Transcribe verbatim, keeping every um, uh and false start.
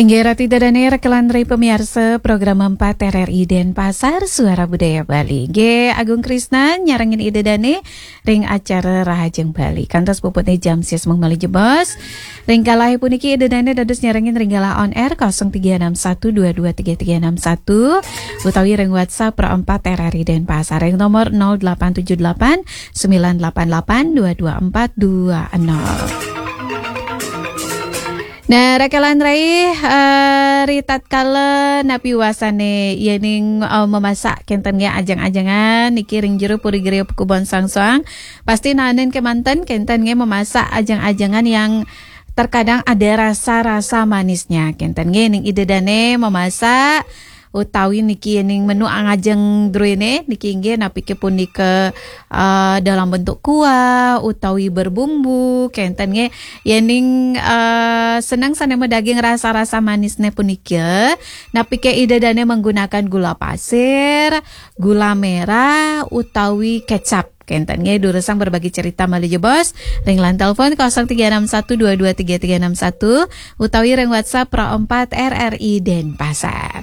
Inggih ratu Ida dané, rekelan ring pamiarsa program empat R R I Denpasar, Suara Budaya Bali. Nggih, Agung Krisna nyarengin Ida dané ring acara Rahajeng Bali. Kantos puputné jam sias malih jebos. Ring kalih puniki Ida dané dados nyarengin ring galah on air kosong tiga enam satu dua dua tiga tiga enam satu utawi ring WhatsApp Pro empat R R I Denpasar ring nomor nol delapan tujuh delapan sembilan delapan delapan dua dua empat dua nol. Nah, rekelan rai, eh, ritatkala napi wasané yéning, eh, mamasak kénten nggih ajeng-ajengan niki ring jero Puri Gria Kubon Sangsoang, pasti naenin kémanten kénten nggih mamasak ajeng-ajengan yang terkadang ada rasa-rasa manisnya. Kénten nggih ning Ida dané mamasak utawi niki yéning menu angajeng druéné niki inggih napiké punika, eh, dalam bentuk kuah utawi berbumbu, kénten nggih. Yéning, eh, seneng sané madaging rasa-rasa manisné punika, napiké Ida dané menggunakan gula pasir, gula merah utawi kecap. Kénten nggih, durusang berbagi cerita malih jebos ring line telepon kosong tiga enam satu dua dua tiga tiga enam satu utawi ring WhatsApp Pro empat R R I Denpasar.